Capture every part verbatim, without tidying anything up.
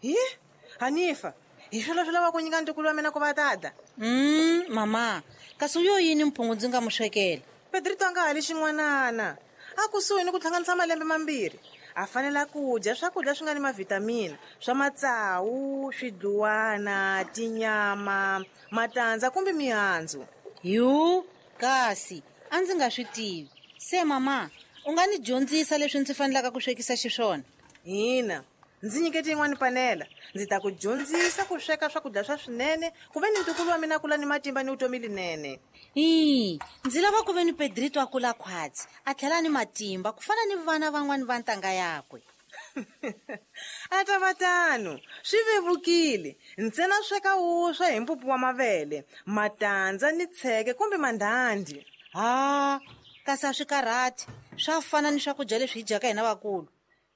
Hi Hanifa, hi swilo swi lava ku nyika ntukulu wa mina ku va tata. Mm, mama, kasi u yo yini mphungu ndzi nga mu swekela? Pedrito a nga hali xin'wanana. A kusuhi ni ku hlanganisa malembe mambirhi. A fanela ku dya swakudya swi nga ni mavhitamini, swa matsawu, swidluwana, tinyama, matandza kumbe mihandzu. Yu, kasi a ndzi nga swi tivi. Se mama, u nga ni dyondzisa leswi ndzi fanelaka ku swekisa xiswona? Hina, ndzi nyikete yin'wana panela. Ndzi ta ku dyondzisa ku sweka swakudya swa swinene, ku ve ni ntukulu wa mina kula ni matimba ni vutomi linene. Ii, ndzi lava ku ve ni Pedrito a kula khwatsi, a tlhela ni matimba ku fana ni vana van'wani va ntanga yakwe. A ta va tano, swi vevukile. Ntsena sweka wuswa hi mpupu wa mavele, matandza ni tsheke kumbe mandhandhi. Ha, kasi a swi karhati, swa fana ni swakudya leswi hi dyaka hina vakulu.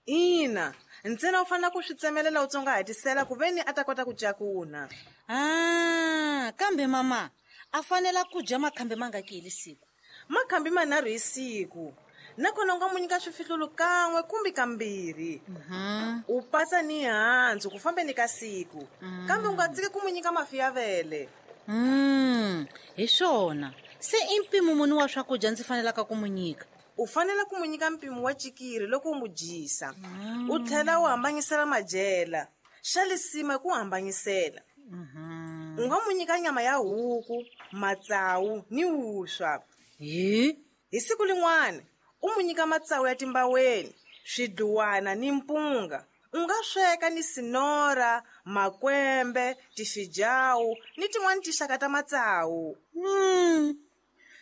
Ina, ntsena u fanele ku swi tsemelela u tsongahatisela ku ve ni a ta kota ku cakuna. Ah, kambe mama, a fanela ku dya makhambi mangaki hi siku? Makhambi manharhu hi siku. Nakona u nga mu nyika swifihlulu kan'we kumbe kambirhi. Mm-hmm. U pasa ni handzu ku fambeni ka siku. Mm. Kambe u nga tshiki ku mu nyika mafi ya vele. Mm, hi swona. Se i mpimo muni wa swakudya ndzi fanelaka ku mu nyika? U fanele ku mu nyika mpimo wa chikiri loko u mu dyisa. Mm. U tlhela u hambanyisela madyela. Xa lisima ku hambanyisela. Mm-hmm. U nga mu nyika nyama ya huku, matsawu ni wuswa. Hi? Hi siku lin'wana u mu nyika matsawu ya timbaweni, swidluwana ni mpunga. U nga sweka ni sinora, makwembe, tifijawu ni tin'wana tinxaka ta matsawu. Mm.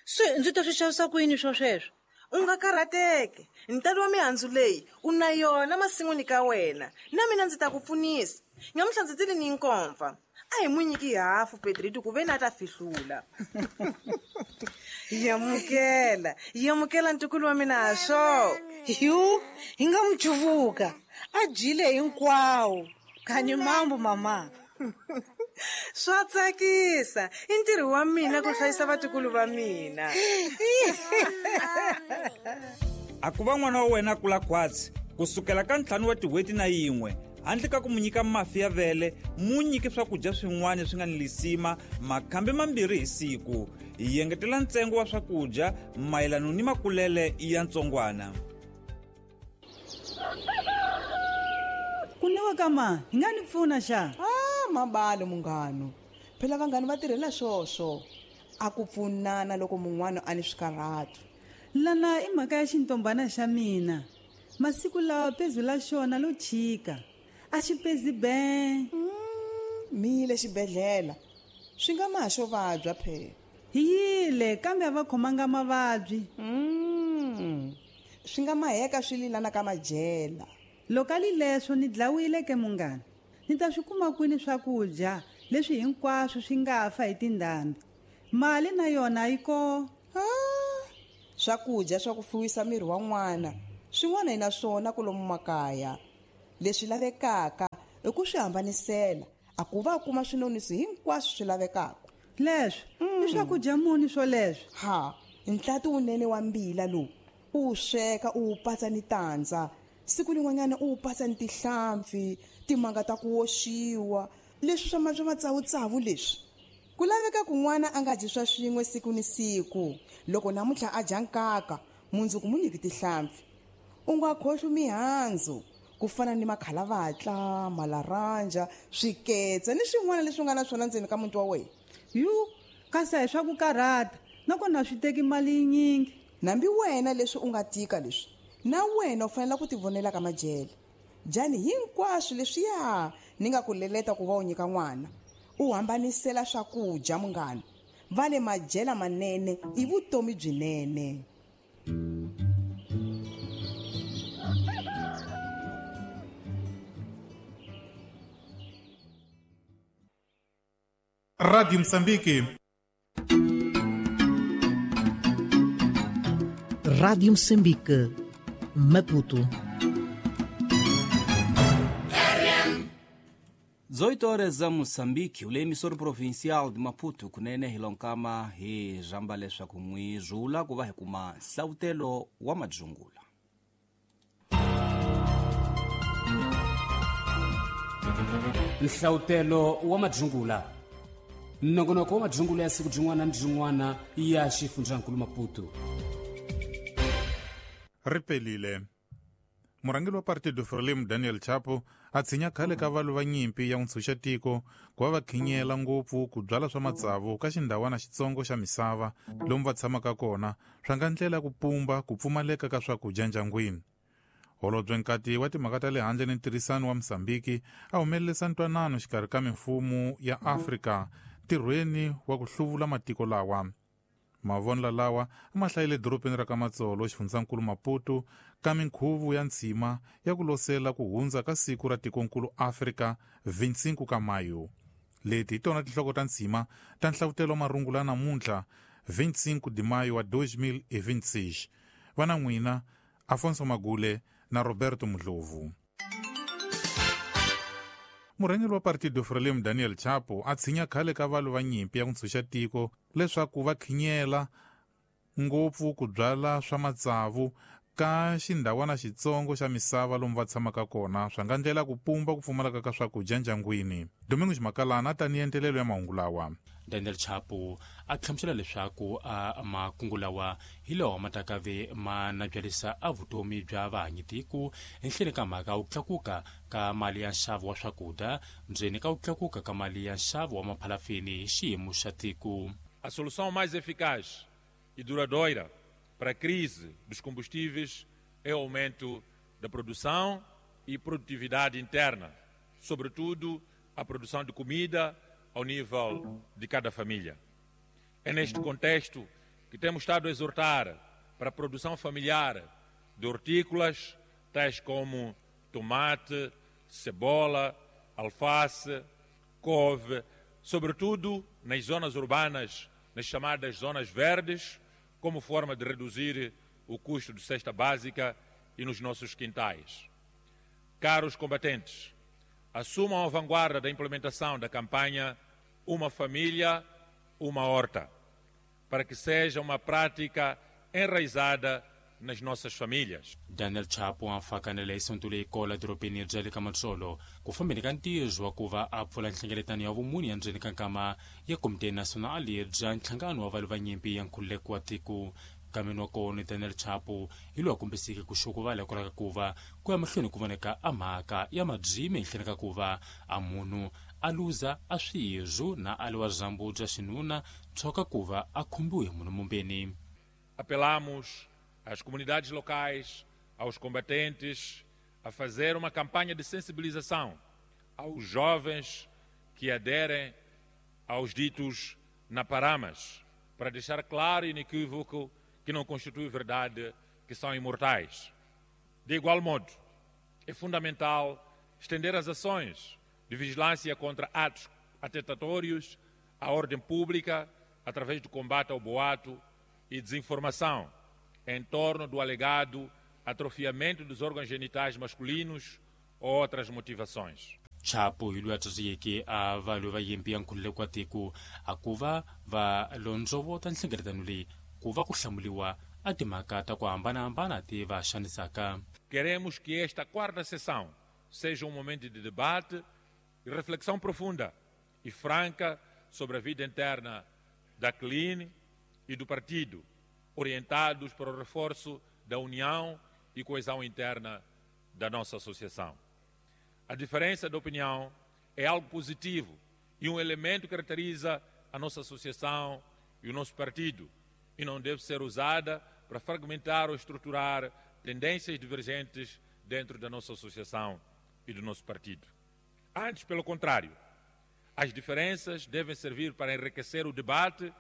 Se ndzi ta swi xavisa ku yini swo sweswo? U nga karhateki. Ntalo wa mihandzu leyi u na yona masin'wini ka wena. Na mina ndzi ta ku pfunisa. Nyamuhla ndzi tile ni nkomfa. A hi mu nyiki hafu Pedrito ku ve ni a ta fihlula. Yamukela, yamukela ntukulu wa mina ha swo. Yu, hi nga mu cuvuka. A dyile hinkwawo. Kani mambo mama. Swa tsakisa. I ntirho wa mina ku hlayisa vatukulu va mina. A ku va n'wana wa wena a kula khwatsi kusukela ka ntlhanu wa tin'hweti na yin'we, handle ka ku mu nyika mafi ya vele, mu nyike swakudya swin'wana swi nga ni lisima makhambi mambirhi hi siku. Hi engetela ntsengo wa swakudya mayelana ni makulele ya ntsongwana. Ku newa ka ma, hi nga ni pfuna xa? Ah, mabalo munghano. Phela vanghani va tirhela swoswo. A ku pfunana loko mun'wana a ni swikarhato. Lana i mhaka ya xintombana xa mina. Masiku lawa pezu la xona lo chika. A xi pezi be. Mm, mile xibedhlele. Swi nga ma xo vabya phela. Hi yile kambe a va khomanga mavabyi. Mm. Swi nga maheka swi lilana ka madyela. Loko a li leswo ni dlawile ke munghana. Ni ta swi kuma kwini swakudya leswi hinkwaswo swi nga fa hi tindhambi. Mali na yona yi ko. Ah, swakudya swa ku fuwisa miri wa n'wana swin'wana hi na swona kwalomu makaya. Leswi lavekaka i ku swi hambanisela, a ku va kuma swinonisi hinkwaswo swi lavekaka. Leswi i swakudya muni swoleswo? Ha, ntlati wunene wa mbila lowu u wu sweka u wu patsa ni tandza. Siku lin'wanyana u wu patsa ni tihlampfi, timanga ta ku oxiwa, leswi swa ma swa matsawutsawu leswi. Ku laveka ku n'wana a nga dyi swa swin'we siku ni siku. Loko namuntlha a dya nkaka, mundzuku mu nyiki tihlampfi. U nga khohlwi mihandzu ku fana ni makhalavatla, malaranja, swiketse ni swin'wana leswi nga na swona ndzeni ka muti wa wena. Yu, kasi a hi swa ku karhata, nakona swi teki mali yinyingi. Nambi wena leswi u nga tika leswi, na wena u fanele ku tivonela ka madyele. Dyani hinkwaswo leswiya ni nga ku leleta ku va u nyika n'wana. U hambanisela swakudya munghana. Va le madyela manene i vutomi byinene. Rádio Moçambique. Rádio Moçambique, Maputo. dezoito horas za Moçambique, ule emissor provincial de Maputo kunene hilonkama hi rhamba leswaku n'wi rhula ku va hi kuma nhlawutelo wa madzungula. Nhlawutelo wa madzungula. Nongonoko wa madzungula ya siku byin'wana na byin'wana ya xifundzankulu Maputo. Ripelile. Murhangeri wa Partido Frelimo Daniel Chapo a tshinya khale ka valwi va nyimpi ya ntshunxetiko ku va va khinyela ngopfu ku byala swa matsavu ka xindhawana xitsongo xa misava lomu va tshamaka kona swa nga ndlela ya ku pumba ku pfumaleka ka swakudya ndyangwini. Holobye Nkati wa timhaka ta le handle ni ntirhisano wa Mozambiki a humelerisa ntwanano xikarhi ka mimfumo ya Afrika ntirhweni wa ku hluvula matiko lawa. Mavonelo lawa a ma hlayile dorobeni ra ka Matsolo xifundzankulu Maputo ka minkhuvo ya ntshima ya ku losela ku hundza ka siku ra tikonkulu Afrika vinhanu ka Mayo. Leti hi tona tinhloko ta ntshima ta nhlavutelo wa marungula namuntlha vinhanu de maio wa dois mil e vinte e seis. Vana n'wina Afonso Magule na Roberto Mudlovu. Murhangeri wa Partido Frelimo Daniel Chapo a tshinya khale ka valwi va nyimpi ya ku ntshunxa tiko leswaku va khinyela ngopfu ku byala swa matsavu ka xindhawana xitsongo xa misava lomu va tshamaka kona swa nga ndlela ku pumba ku pfumaleka ka swakudya ndyangwini. Domingos Makalana a tanihi entelelo ya mahungu lawa. Daniel Chapo a hlamusela leswaku a makungu lawa hi lawa ma ta ve ma nabyalisa a vutomi bya vahanyitiko enhleni ka mhaka ku tlakuka ka mali ya nxavo wa swakudya ndzeni ka ku tlakuka ka mali ya nxavo wa maphalafini hi xiyimo xa tiko. A solução mais eficaz e duradoura para a crise dos combustíveis é o aumento da produção e produtividade interna, sobretudo a produção de comida ao nível de cada família. É neste contexto que temos estado a exortar para a produção familiar de hortícolas, tais como tomate, cebola, alface, couve, sobretudo nas zonas urbanas, nas chamadas zonas verdes, como forma de reduzir o custo de cesta básica e nos nossos quintais. Caros combatentes, assumam a vanguarda da implementação da campanha Uma Família, Uma Horta, para que seja uma prática enraizada nas nossas famílias. Daniel Chapo a fakanele isonto leyi kola dorobeni bya le ka Matsolo ku fambeni ka ntirho wa ku va a pfula nhlengeletano ya vumuni ya ndzeni ka nkama ya Komite Nasionali bya nhlangano wa valwi va nyimpi ya nkhululeko wa tiko. Nkameni wa kona Daniel Chapo hi loyi a kombiseke ku xokuvala hikwalaho ka ku va ku ya mahlweni ku voneka a mhaka ya mabyimi ehenhleni ka ku va a munhu a luza a swirho na a liwa zambu bya xinuna tshoka ku va a khumbiwe hi munhu mumbeni. Apelamos às comunidades locais, aos combatentes, a fazer uma campanha de sensibilização aos jovens que aderem aos ditos naparamas, para deixar claro e inequívoco que não constitui verdade que são imortais. De igual modo, é fundamental estender as ações de vigilância contra atos atentatórios à ordem pública através do combate ao boato e desinformação em torno do alegado atrofiamento dos órgãos genitais masculinos ou outras motivações. Chapo hi loyi a tswasiyeke a valwi va nyimpi ya nkhululeko wa tiko a ku va va londzovota nhlengeletano leyi ku va ku hlamuliwa a timhaka ta ku hambanahambana ti va xanisaka. Queremos que esta quarta sessão seja um momento de debate e reflexão profunda e franca sobre a vida interna da C L I N e do partido, orientados para o reforço da união e coesão interna da nossa associação. A diferença de opinião é algo positivo e um elemento que caracteriza a nossa associação e o nosso partido e não deve ser usada para fragmentar ou estruturar tendências divergentes dentro da nossa associação e do nosso partido. Antes, pelo contrário, as diferenças devem servir para enriquecer o debate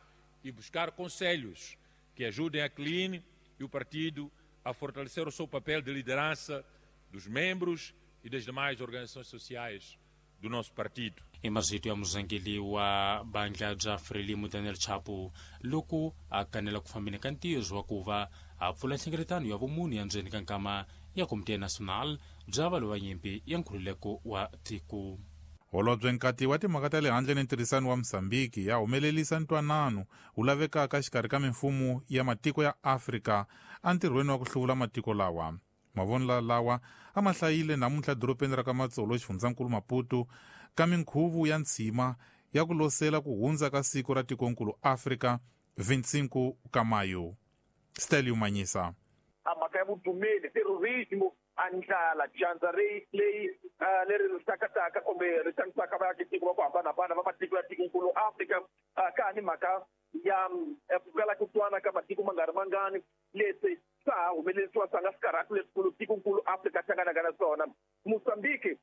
e buscar conselhos que ajudem a C L I N e o partido a fortalecer o seu papel de liderança dos membros e das demais organizações sociais do nosso partido. I marito ya murhangeri wa bandla bya Frelimo Daniel Chapo loko a kanela ku fambeni ka ntirho wa ku va a pfula nhlengeletano ya vumuni ya ndzeni ka nkama ya Komite Nasional bya valwi va nyimpi ya nkhululeko wa tiko. Holobye Nkati wa timhaka ta le handle ni ntirhisano wa Mozambiki ya humelerisa ntwanano wu lavekaka xikarhi ka mimfumo ya matiko ya Afrika entirhweni wa ku hluvula matiko lawa. Mavonelo lawa a ma hlayile namuntlha dorobeni ra ka Matsolo xifundzankulu Maputo ka minkhuvo ya ntshima ya ku losela ku hundza ka siku ra tikonkulu Afrika vinte e cinco ka Maio. Stelio Manyisa. A mhaka ya vudumeli, terrorismo, a ndlala, dyandza leyi leri ri hlakataka kumbe ri xanisaka vaakitiko va ku hambanahambana va matiko ya tikonkulu Afrika, ka ha ni mhaka ya ku kala ku twana ka matiko ma nga ri mangani, leswi swa ha humelerisiwa swa nga swikarhati leswikulu tikonkulu Afrika hlanganaka na swona. Mozambique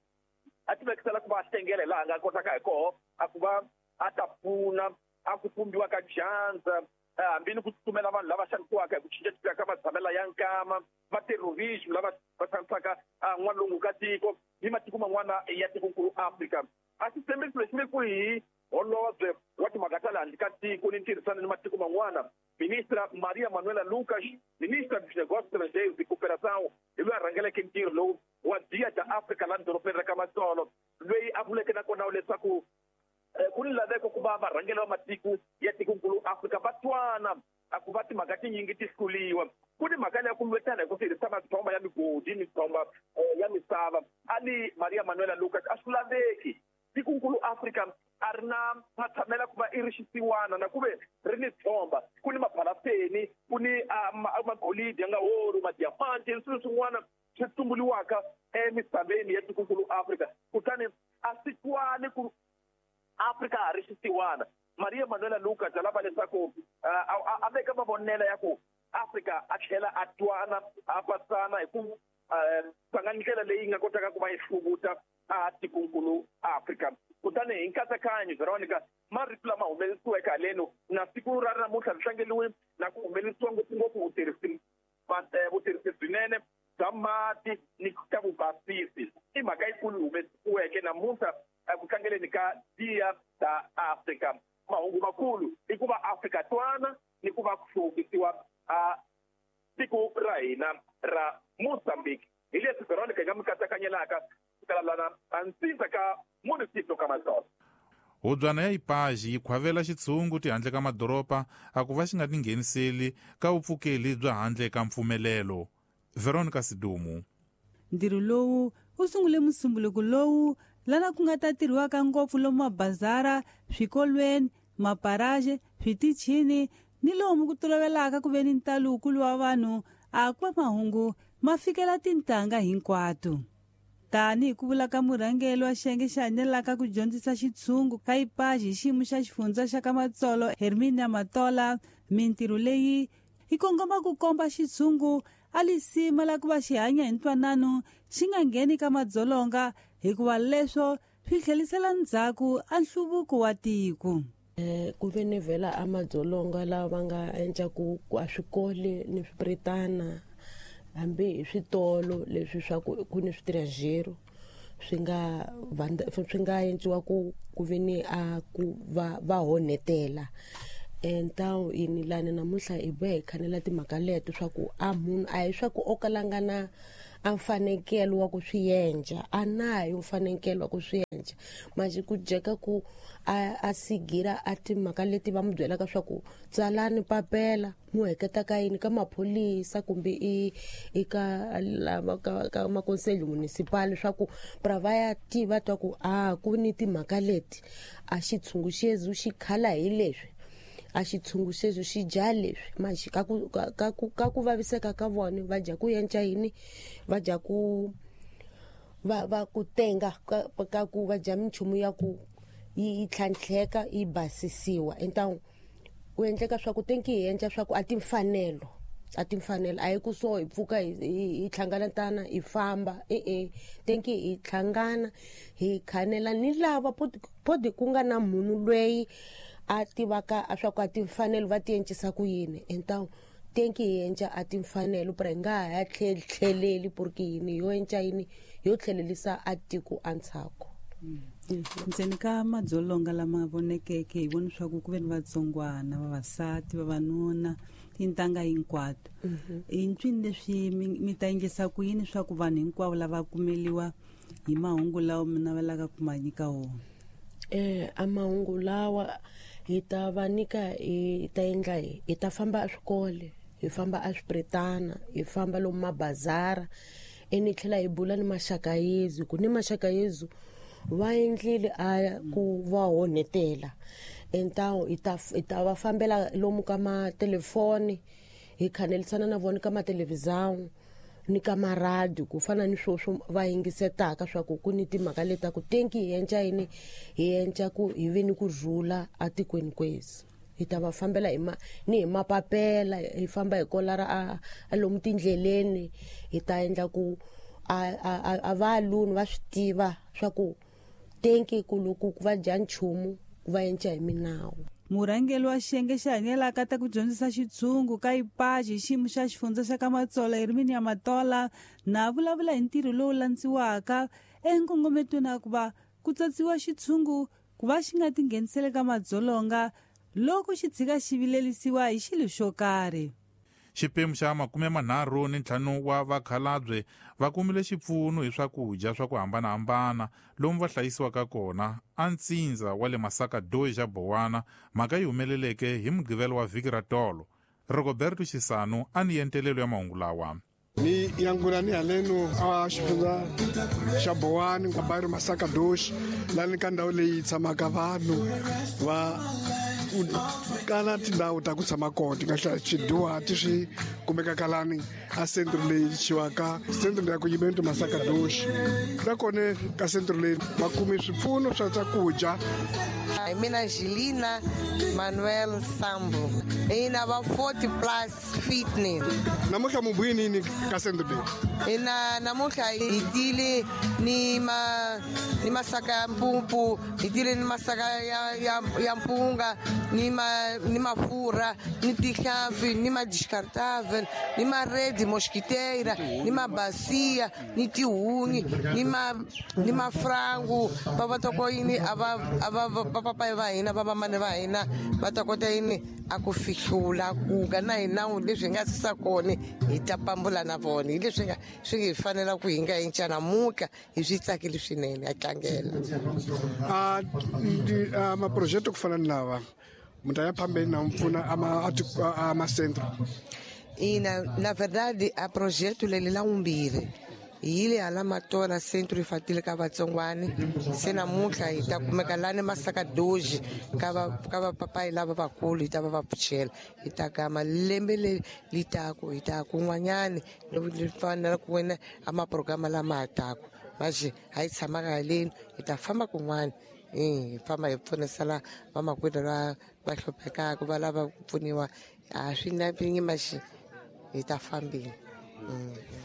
a ti vekisela ku va hlengela hi laha a nga kotaka hi koho a ku va a ta pfuna a ku pumbiwa ka dyandza, hambi ni ku tsutsumela vanhu lava xanisiwaka hi ku cincacinca ka matshamelo ya nkama, va terrorism lava va xanisaka n'walungu ka tiko ni matiko man'wana ya tikonkulu Afrika. A xitshembiso lexi vekiwe hi holobye wa timhaka ta le handle ka tiko ni ntirhisano ni matiko man'wana, ministra Maria Manuela Lucas, ministra dos Negócios Estrangeiros e Cooperação, hi loyi a rhangeleke ntirho lowu wa Dia da Africa laha dorobeni ra ka Matsolo, loyi a vuleke nakona leswaku ku ni laveko ku va varhangeli va matiko ya tikonkulu Afrika va twana a ku va timhaka tinyingi ti hluriwa. Ku ni mhaka leya ku lwetana hi ku tirhisa matshomba ya migodi, mitshomba ya misava. Ali Maria Manuela Lucas a swi laveki, tikonkulu Afrika a ri na matshamela ku va i ri xisiwana na ku ve ri ni tshomba, ku ni maphalafeni, ku ni magolidi ya nga oro, madiamanti ni swilo swin'wana swi tumbuliwaka emisaveni ya tikonkulu Afrika, kutani a swi twali ku Afrika ha ri xisiwana. Maria Manuela Lucas a lava leswaku a veka mavonelo ya ku Afrika a tlhela a twana, a pasana hi ku tlanga ndlela leyi nga kotaka ku va yi hluvuta a tikonkulu Afrika. Kutani hi nkatsakanyo, Veronica, marito lama humelerisiweke haleno na siku ra namuntlha ri tlangeliwe na ku humelerisiwa ngopfungopfu vutirhisi vutirhisi byinene bya mati ni ka vubasisi, i mhaka yikulu yi humesiweke namuntlha ku tlangeleni ka Dia da Afrika. Mahungu makulu i ku va Afrika twana ni ku va ku hluvukisiwa a tiko ra hina ra Mozambique. Hi leswi Veronica hi nga mi katsakanyelaka sukela lana a ntsindza ka municipio ka Matsolo. Hubyana ya Ipaji yi khwavela xitshungu tihandle ka madoroba a ku va xi nga tingheniseli ka vupfukeli bya handle ka mpfumelelo. Veronica Sidumu. Ntirho lowu wu sungule musumbuluko lowu lana ku nga ta tirhiwaka ngopfu lomu mabazara, swikolweni, maparaje, switichini ni lomu ku tolovelaka ku ve ni ntalo wukulu wa vanhu a ku va mahungu ma fikela tintangha hinkwato. Tanihi ku vula ka murhangeri wa xiyenge xi hanyelaka ku dyondzisa xitshungu ka Ipaji hi xiyimo xa xifundza xa ka Matsolo, Herminia Matola, mintirho leyi yi kongoma ku komba xitshungu a lisima la ku va xi hanya hi ntwanano, xi nga ngheni ka madzolonga, hikuva leswo swi tlhelisela ndzhaku a nhluvuko wa tiko. Ku ve ni vhela a madzolonga lawa va nga endla ku a swikole ni swipretana, hambi hi switolo leswi swa ku ku ni switirajero swi nga swi nga endliwa ku ku ve ni a ku va va honetela. Entawu yini lani namuntlha hi boha hi khanela timhaka leto swa ku a munhu a hi swa ku o kalanga na a mfanekelo wa ku swi endla, a nayo mfanekelo wa ku swi endla, manje ku dyeka ku a a sigira a timhaka leti va mu byelaka swa ku tsalani papela mu heketa ka yini ka maphorisa kumbe i i ka lava ka ka makonseli municipal swa ku pra va ya tiva twa ku a ku ni timhaka leti a xitshungu xezu xi khala hi leswi, a xitshungu xexo xi dya leswi, manje ka ku ka ku ka ku vaviseka ka vona va dya ku endla yini, va dya ku va va ku tenga ka, ka ku va dya minchumu ya ku yi tlhantlheka yi basisiwa. Entawu ku endleka swa ku tenki hi endla swa ku a timfanelo a timfanelo a hi ku so hi pfuka hi hi hlanganatana hi famba e-e, tenki hi hlangana hi khanela ni lava podi ku nga na munhu loyi a tivaka a swa ku a timfanelo va ti encisa ku yini. Entawu tenki hi endla a timfanelo pra hi nga ha tlheleli porque yini yo endla yini yo tlhelelisa a tiko a ntshaku. Ndzeni ka madzolonga lama vonekeke hi vona swa ku ku ve ni vatsongwana, vavasati, vavanuna, tintangha hinkwato. I ncwini leswi mi ta endlisa ku yini swa ku vanhu hinkwavo lava kumeliwa hi mahungu lawa mi navelaka ku ma nyika wona? Eh a mahungu lawa hi ta va nyika hi ta endla hi hi ta famba eswikole, hi famba eswipretana, hi famba lomu mabazara, Ene tlhela hi bula ni maxaka yezu ku ni maxaka yezu va endlile a ku va honetela entawu hi ta hi ta va fambela lomu ka matelefoni hi khanelisana na vona ka mathelevhizão ni ka maradio ku fana ni swoswo va yingisetaka swa ku ku ni timhaka leta ku tenki hi enca yini hi enca ku hi vi ni ku rhula atikweni kwezi hi ta va fambela hi ma ni hi mapapela hi famba hi kolara a a lomu tindleleni hi ta endla ku a a a va luni va swi tiva swa ku tenki ku loko va dya nchumu va enca hi minawu. Murhangeri wa xiyenge xa hanyelaka ta ku dyondzisa xitshungu ka IPAJ hi xiyimo xa xifundza xa ka Matsolo Herminia Matola na vulavula hi ntirho lowu landziwaka enkongometweni wa ku va ku tsatsiwa xitshungu ku va xi nga tinghenisele ka madzolonga loko xi tshika xi vilelisiwa hi xilo xo karhi. Xipemu xa makume manharhu ni ntlhanu wa vakhalabye va kumile xipfuno hi swakudya swa ku hambanahambana lomu va hlayisiwaka kona a ntsindza wa le Masaka Doyi xa Bowana. Mhaka yi humeleleke hi Mugqivela wa vhiki ra tolo. Roberto Xisano a ni yentelelo ya mahungu lawa. Ni yangula ni haleno a xifundza xa Bowani ka bairro Masaka Doshi lani ka ndhawu leyi tshamaka vanhu va kala tindhawu ta ku tshama kona ti nga swidyuhati swi kumekaka lani a centro leyi chiwaka centro ya acolhimento Masaka Doshi na kona ka centro leyi va kume swipfuno swa swakudya. Hi mina Angelina Manuel Sambo ina va forty plus fitness. Namuntlha mu buyini yini ka centro leyi? Ina namuntlha hi tile ni ma ni masaka ya mpumpu, hi tile ni masaka ya ya ya mpunga ni ma ni mafurha ni tihlampfi ni ma descartável ni ma rede mosquiteira ni ma bacia ni tihunyi ni ma ni mafrango va va ta ko yini a va a va va papai va hina va vamane va hina va ta kota yini a ku fihlula kuka na hina leswi hi nga sisa kona hi ta pambula na vona hi leswi nga swi hi fanela ku hi nga enca namuntlha hi swi tsakile swinene a tlangela. A a maprojeto ku fana ni lava munhu a ya phambeni na mpfuna a a macentro. Ina na verdade a projeto leli la umbirhi hi yile hala Matola centro infantil ka vatsongwani se namuntlha hi ta kumeka lani Masaka Doji ka va ka vapapayi lava vakulu hi ta va va pfuxela hi ta gama lembe leri li taku hi ta kun'wanyani li fanela ku wena a maprograma lama ha taku manje a hi tshamaka haleni hi ta famba kun'wana hi famba hi pfunisa la vamakwerhu va va hluphekaka va lava ku pfuniwa a swi na maxi hi ta fambile.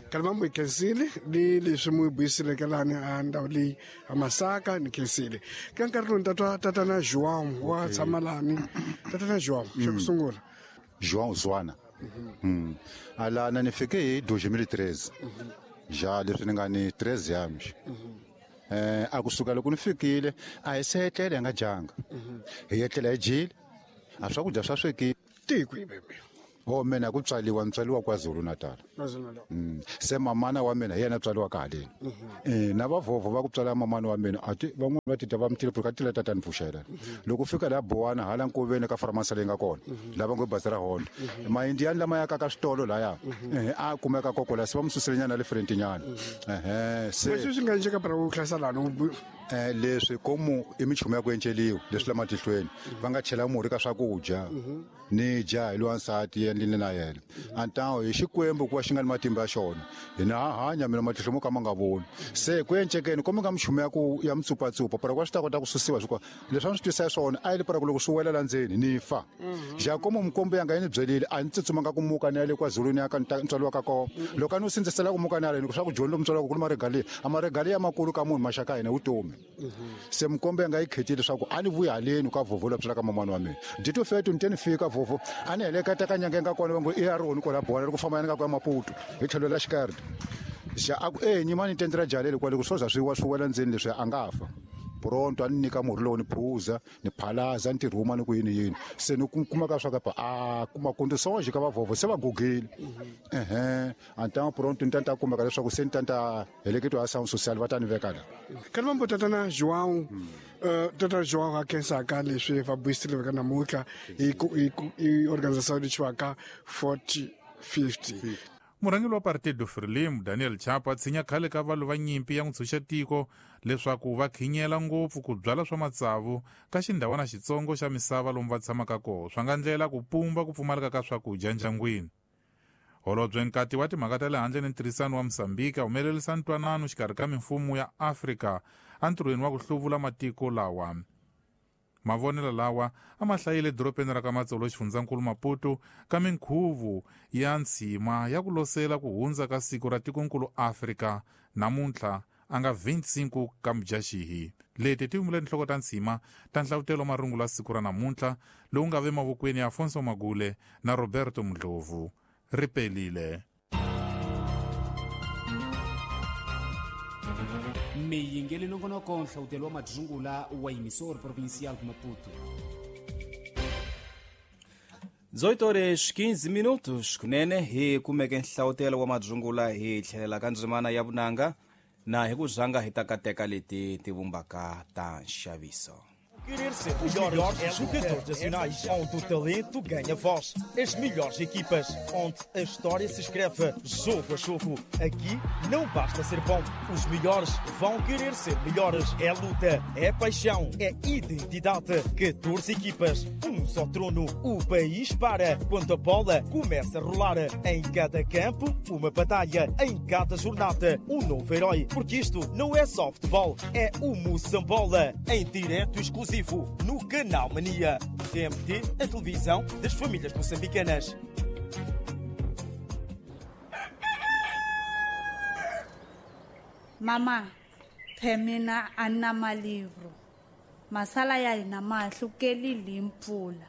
Kalima mu khensile ni leswi mu buyiseleke lani a ndhawu leyi a Masaka ni khensile. Ka nkarhi lowu ni tatwa tatana João wa tshama lani tatana João xa ku sungula João Zwana alana ni fike hi dois mil e treze ja leswi ni nga ni treze anos. Eh a kusuka loko ni fikile a hi se etlela hi nga dyanga hi etlela hi dyile a swakudya swa swekile tiko hi bebe. O mina ku tswaliwa ni tswaliwa KwaZulu Natal. Mm. Se mamana wa mina hi yena tswaliwa haleni. Eh na vavhovho va ku tswala mamana wa mina a ti van'wana va tita va mutile ka tila tata ni pfuxela. Loko fika la Bowana hala nkoveni ka farmasi leyi nga kona lava ngo bazi ra Honda. Maindiani lama ya ka ka switolo laya eh a kumeka kokola se va mususele nyana le front nyana. Eh se leswi swi nga endleka para ku hlasela lani eh leswi komu i michumu ya ku enceliwa leswi la matihlweni va nga chela murhi ka swakudya ni dya hi lwansati endlile na yena antawo hi xikwembu ku va xi nga ni matimba ya xona hina ha hanya mina matihlo mo ka ma nga voni se ku encekeni komi nga michumu ya ku ya mitsupatsupa para ku swi ta kota ku susiwa swi leswi a ni swi twisa swona a yi li para ku loko swi wela la ndzeni ni fa ja komo mikombo yanga yi ni byelile a ni tsutsumanga ku muka ni ya le KwaZulu ni ya ka ni tswaliwaka kona loko a ni wu sindzisela ku muka ni haleni swa ku joni lomu tswaliwaka ku ni maregaliya a maregaliya makulu ka munhu maxaka ya hina vutomi se mikombo yanga yi khetile leswaku a ni vuyi haleni ka vhovho la tswalaka mamani wa mina dito fetu ni te ni fika vhovho a ni heleketa ka nyanga nga kona va ngo i ya roni kwala Bowana ri ku famba yana ka ku ya Maputo hi tlhelo la xikarhi xa a ku e nyimani tendra jalele kwale ku swo za swi wa swi wela ndzeni leswi a nga fa pronto a ni nyika murhi lowu ni phuza ni phalaza ni tirhuma ni ku yini yini se ni kuma ka swa ka a kuma condições ka vavhovho se va gugile ehe antão pronto ni tanta kumeka leswaku se ni tanta heleketiwa a sound social va ta ni veka la Kalima mbo tatana João tata João a khensaka leswi va buyisile ka namuntlha hi hi organização leyi chiwaka forty fifty. Murhangeri wa Partido Frelimo Daniel Chapo a tshinya khale ka valwi va nyimpi ya ntshunxetiko leswaku va khinyela ngopfu ku byala swa matsavu ka xindhawana xitsongo xa misava lomu va tshamaka kona, swa nga ndlela ku pumba ku pfumaleka ka swakudya ndyangwini. Holobye Nkati wa timhaka ta le handle ni ntirhisano wa Mozambique a humelerisa ntwanano xikarhi ka mimfumo ya Afrika entirhweni wa ku hluvula matiko lawa. Mavonelo lawa a ma hlayile edorobeni ra ka Matsolo xifundzankulu Maputo ka minkhuvo ya ntshima ya ku losela ku hundza ka siku ra tikonkulu Afrika namuntlha a nga twenty-five ka Mudyaxihi. Leti ti humile tinhloko ta ntshima ta nhlavutelo wa marungulo ya siku ra namuntlha lowu nga ve mavokweni ya Afonso Magule na Roberto Mdlovu. Ri pelile. Miyingeli nongonoko nhlawutelo wa madzungula wa emissor provincial de Maputo. dezoito horas quinze minutos kunene hi kumeke nhlawutelo wa madzungula hi tlhelela ka ndzimana ya vunanga na hi ku zanga hi ta kateka leti ti vumbaka ta nxaviso. Querer ser os melhores jogadores nacionais, onde o talento ganha voz, as melhores equipas, onde a história se escreve jogo a jogo. Aqui não basta ser bom, os melhores vão querer ser melhores. É luta, é paixão, é identidade. catorze equipas, um só trono. O país para quando a bola começa a rolar. Em cada campo, uma batalha. Em cada jornada, um novo herói. Porque isto não é só futebol, é o Moçambola, em direto exclusivo no Canal Mania. T M T, a televisão das famílias moçambicanas. Mama, phemina a na malivro. Masala ya hina ma hlukelile hi mpfula.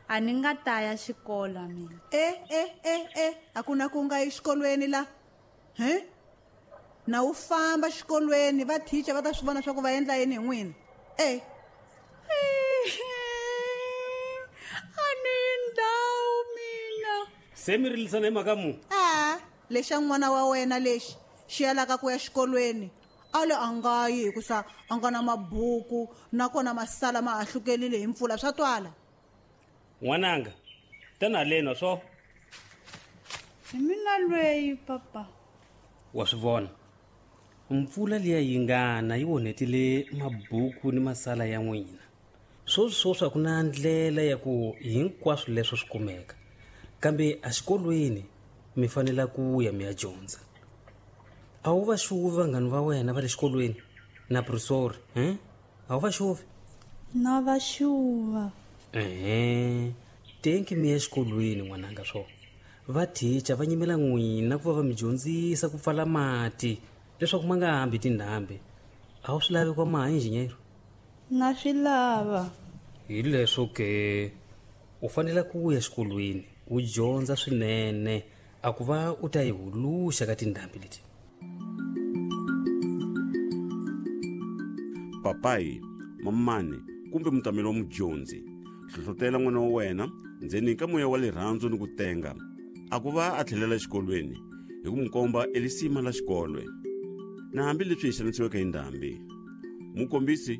A ni nga ta ya xikolo mina. E e e e, a ku na ku nga exikolweni la. He? Na u famba xikolweni va teacher va ta swi vona swa ku va endla yini hi n'wina. E. A ni ndhawu mina. Se mi rilisana hi mhaka mu? A, lexa n'wana wa wena lexi xi yalaka ku ya xikolweni. A le a nga yi hikusa a nga na mabuku nakona masala ma ahlukelile hi mpfula swa twala. N'wananga, tana haleni swo. Hi mina lweyi papa. Wa swi vona. Mpfula liya yi ngana yi onhetile mabuku ni masala ya n'wina. Swoswi swoswi a ku na ndlela ya ku hinkwaswo leswo swi kumeka. Kambe exikolweni mi fanele ku ya mi ya dyondza. A wu va xuvi vanghani va wena va le xikolweni na professor, eh? A wu va xuvi? Na va xuva. Ehe, tenki mi ya exikolweni n'wananga swo. Va teacher va nyimela n'wina ku va va mi dyondzisa ku pfala mati leswaku ma nga hambi tindhambi. A wu swi lavi kwa maha engineer? Na swi lava. Hi leswo ke u fanele ku ya exikolweni u dyondza swinene a ku va u ta yi huluxa ka tindhambi leti. Papai, mamani kumbe mutameli wa mudyondzi, hlohlotela n'wana wa wena ndzeni ka moya wa rirhandzu ni ku tenga a ku va a tlhelela exikolweni hi ku n'wi komba elisima la xikolwe. Na hambileswi hi xanisiweke hi ndhambi, mukombisi